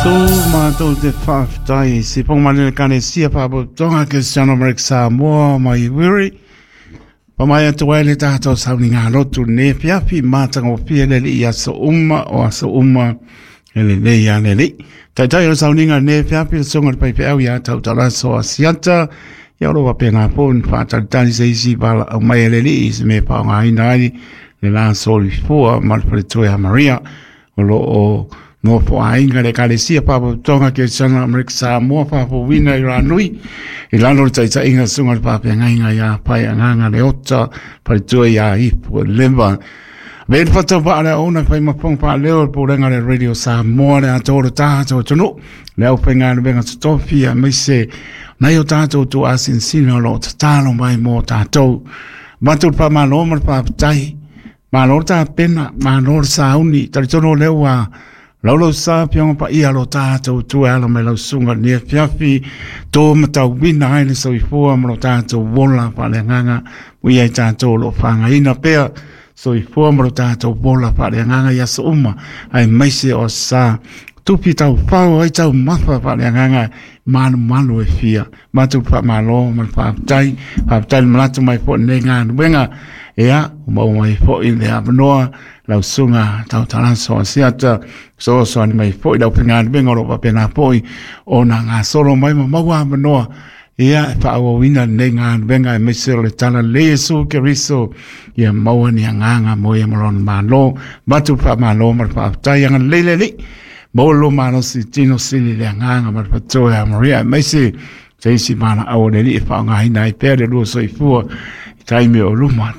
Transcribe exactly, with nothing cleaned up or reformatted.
Tu mātou te whawhitai si pongmani le kane sia whapotonga Cristiano Marek Samoa mai wiri. Pamai atu ai le tātou sauni ngā lotu ne fiafi mātanga o fia le li aso uma o aso uma e le le ia le li. Taitai o sauni ngā ne fiafi le songa le pai au ia tau talaso a siata. Ia oro wape ngā pōn whaatalitali se isi pala au mai e le li i se me pao ngā ina ai le la soli fua malpale a Maria o lo o no po ainga le kalesia papo tonga ke sana Amerika Samoa papo wina i ranui i lalo le taita inga sunga le pape ngainga ia pai anganga le ota pai tua ia ipu lemba Ve le fata pa le ona fai mapong pa leo le porenga le Radio Samoa le atoro tātou tonu le au whenga le venga totofia mai se nai o tātou tu asinsina lo tatalo mai mō tātou Matu pa malo ma le papatai malo tā pena malo le sauni taritono leo a Laulau sa pionga pa ia lo tātou tu ala mai lau sunga nia fiafi tō matau wina ai le soifua ma lo tātou wola pa le nganga ui ai tātou lo whangaina pea soifua ma lo tātou wola pa le nganga ia so uma ai maise o sa tupi tau pau ai tau mafa pa le nganga malu malu e fia matu pa malo ma pa tai pa tai malatu mai po ne ngā wenga ea o mau mai fo i le avanoa lau sunga tau talanso asiata so so ani mai fo i lau penga benga ro papena foi o na ngā solo mai ma maua avanoa ea e whaawawina ne ngā wenga e mese o le tala le Yesu Keriso ia maua ni anganga mo ia malona malo matu pa malo ma pa tai anga lele le molo malo si tino sili le anganga ma patoa Maria mese se isi mana au le li e whaangahina i pēr le lua soifua i taimi o luma.